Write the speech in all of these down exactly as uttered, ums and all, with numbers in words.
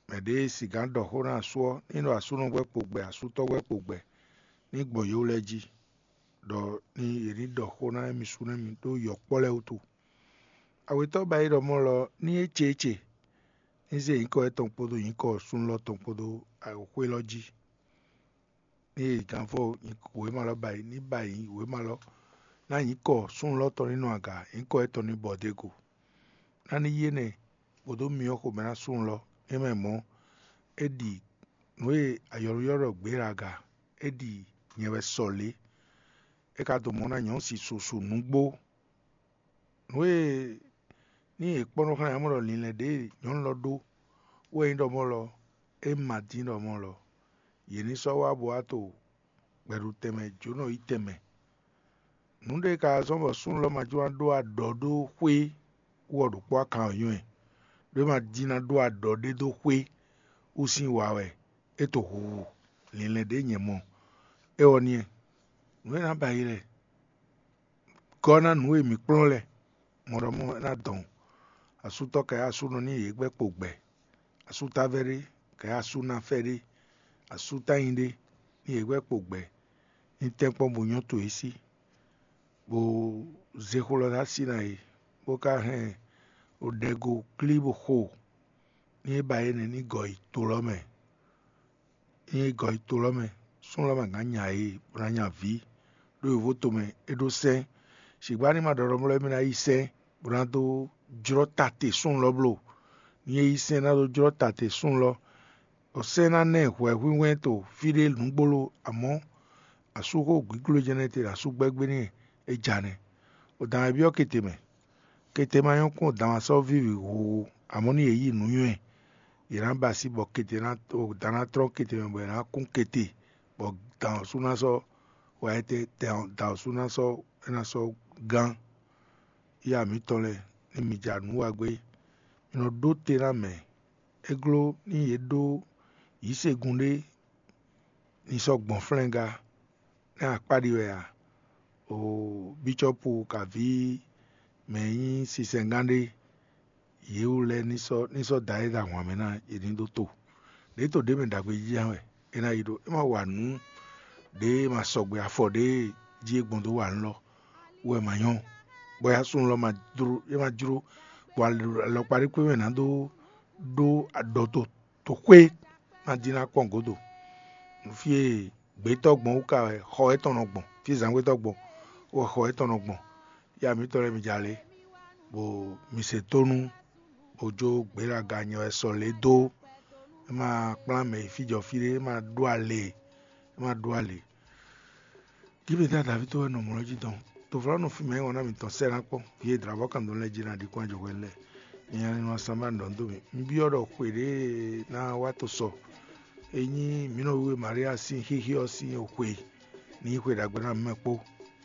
Mɛ ɖě e sigǎn ɖɔ xó ná asú ɔ́, ní ɖɔ asúnɔ gbɛ́ kpo gbɛ, asútɔ́ gbɛ́ kpo gbɛ, ní gbɔn yě wú lɛ́ɛ jí, ɖɔ ní yě ní ɖɔ xó ná émí sú nú émí ɖó yɔ̌kpɔ́ lɛ́ɛ wútu. Awětɔ́ ba e ɖɔ mɔ̌ lɔ ní é ce é ce, ní zé nyǐkɔ étɔn kpódó nyǐkɔ súnnu lɔ tɔn kpódó xwé lɔ jí. Ní è gǎn fɔ wěma lɔ ba yi, ní ba yi wěma lɔ, ná nyǐkɔ súnnu lɔ tɔn ní nɔ aga, nyǐkɔ étɔn ní bɔ dó e go. Ná ní yí énɛ́, bó dó myɔ xomɛ ná súnnu lɔ, é mɛ mɔ̌, é ɖi nǔ e ayɔlúyɔ́ ɖɔ gbě ɖo aga, é ɖi nyɛ wɛ sɔ lě. É ka dó mɔ ná nyɔ̌ si susu nǔgbó. Nǔ e ní è kpɔ́n nɔ xlɛ́ ǎ mɔ ɖɔ linlɛn ɖě e nyɔ̌nu lɔ ɖó wɛ nyí ɖɔ mɔ̌ lɔ, é ma dín ɖɔ mɔ̌ lɔ, yě ní sɔ́ wá bó wá to gbɛɖutɛnmɛ jǒnɔ yi tɛnmɛ. Nǔ ɖé ka zɔ́n bɔ súnnu lɔ ma jló ná ɖó aɖɔ ɖó xwé wú ɔ́ ɖokpó akan ɔ́ nywɛ́, ɖó é ma dín ná ɖó aɖɔ ɖé dó xwé wú sín wa wɛ é to huhu linlɛn ɖě nyɛ mɔ. É ɔ́ nìyɛn, nǔ e ná ba yi lɛ gɔ́ ná nǔ e mǐ kplɔ́n lɛ́ɛ. Mɔɖɔmɔ́ ná dɔn asútɔ́ kɛ asúnɔ ní yě gbɛ́ kpo gbɛ, asútávɛ́ ɖé kɛ asúnáfɛ́ ɖé, asútányi ɖé ní yě gbɛ́ kpo gbɛ, ní tɛ́nkpɔ́n bó nyɔ́ to yě sí, bó zé xó lɔ dó así ná yě, bó ka hɛn ɖɛgo klí bó xo, ní é ba yě nɛ́ ní gɔ yi to lɔ mɛ. Ényí é gɔ yi to lɔ mɛ, súnnu lɔ ma gǎn nya yě bó ná nya vǐ, ɖó yǒvo tomɛ é ɖó sɛ́n. Sǐgbá ní ma ɖɔ ɖɔ mlɔ́ émí ná yí sɛ́n bó ná dó jlɔ́ ta te súnnu lɔ bló. Ní é yí sɛ́n ná dó jlɔ́ ta te súnnu lɔ, bɔ sɛ́n ná ná ɛ hwɛhwínhwɛ́n to fí ɖé nǔgbóló, amɔ̌ asúxó gbígblo jɛ́n nɛ́ te ɖo asú gbɛ́gbɛ́ n'i é ja nɛ́. Odǎn wɛ byɔ́ kete mɛ. Kete ma nyɔ́ kpɔ́n, odǎn wá sɔ́ víví huhu, amɔ̌ nú yě yi nǔnywɛ́, yě ná ba así bɔ kete ná, odǎn ná tlɔ́n kete mɛ bɔ yě ná kún kete, bɔ dǎn ɔ́ sú ná sɔ́ wá étɛ́, dǎn ɔ́ sú ná sɔ́ é ná sɔ́ gán. Yá mǐtɔn lɛ́ɛ, ní mi ja nǔ wa gbé, mi nɔ ɖó te ná mɛ. É gló ní yě ɖó yǐsegun ɖé ní sɔ́ gbɔn flɛ́ngá, nɛ́ akpá ɖi wɛ a? O bícɔ́pu kaví mɛ e nyí sinsɛngán ɖé, yě wú lɛ́ɛ ní sɔ́ ní sɔ́ da é ɖo ahwan mɛ ná yě ní ɖó to. Ɖě to ɖě mɛ ɖagbe jí wɛ é ná yi ɖó, é ma wa nǔ ɖě ma sɔgbe afɔ ɖě jí é gbɔn dó wa nǔ lɔ wɛ ma nyɔ́, bɔ yá súnnu lɔ ma jló é ma jló, bɔ alɔkpa ɖé kpé mɛ ná dó ɖó aɖɔ to to xwé ná dín ná kpɔ́n gǒdo. Nǔ fí e gbětɔ́ gbɔn wú ka wɛ xɔ étɔn nɔ gbɔn, fí zǎngbétɔ́ gbɔn wɛ xɔ étɔn nɔ gbɔn. Yá mǐtɔn lɛ́ɛ mi ja lě, bɔ mi se tónú, bó jó gběɖaga nyɛ wɛ sɔ lě dó. É ma kplán mɛ yi fí jɔ fí ɖé, é ma ɖó alě, é ma ɖó alě. Gíbedá Davído wɛ nɔ mlɔ́ jí dɔn. Tovlánɔ fí mɛ é wɔn ná mǐtɔn sɛ́ ná kpɔ́n. Vǐ e dlǎvɔ́ kan dɔn lɛ́ɛ jí ná ɖi kɔn ajɔ̌ hwɛ lɛ́ɛ. Nyɛ nɔ asán ma ɖɔ dó mì. Un byɔ́ ɖɔ xwe ɖě ná wá to sɔ. É nyí mǐ nɔ wiwe Maria sín xíxí ɔ́ sín xwe ní xwe ɖagbe ná mɛ kpó.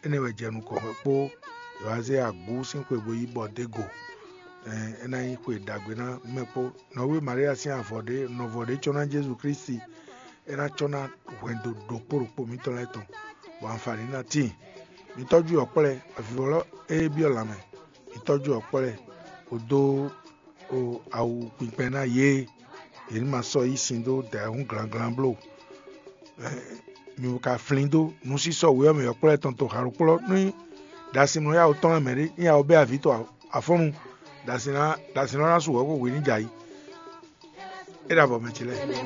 Énɛ́ wɛ jɛ nukɔn wɛ kpó. Yǒazé agǔ sín xwe bo yí bɔ dó go. É ná nyí xwe ɖagbe ná mɛ kpó. Nɔví Maria sín avɔ ɖé, nɔvɔ ɖé cɔ́ ná Jezu Klísu. É ná cɔ́ ná hwɛndo ɖokpó ɖokpó mǐtɔn lɛ́ɛ tɔn, bɔ anfǎni ná tíin. Mi tɔ́jú yɔ̌kplɔ́, avivɔlɔ́ e byɔ́ lanmɛ, mi tɔ́jú yɔ̌kplɔ́, bó dó awu kpinkpɛn ná yě, yě ní ma sɔ́ yí sin dó dǎyɛhún glanglan bló. Mi ka flín dó nǔsísɔ wě ɔ́ mɛ yɔ̌kplɔ́ tɔn to hǎlukplɔ́ ní ɖasin mlɔ́ yáwó tɔn lɛ́ɛ mɛ ɖé, ní yáwó bɛ́ avǐ tɔn afɔ́nnu, ɖasin ná ɖasin lɔ́ ná su hwɛ̌ xo hwǐ ní jɛ ayǐ. É ɖo avɔ mɛ ce lɛ́ɛ.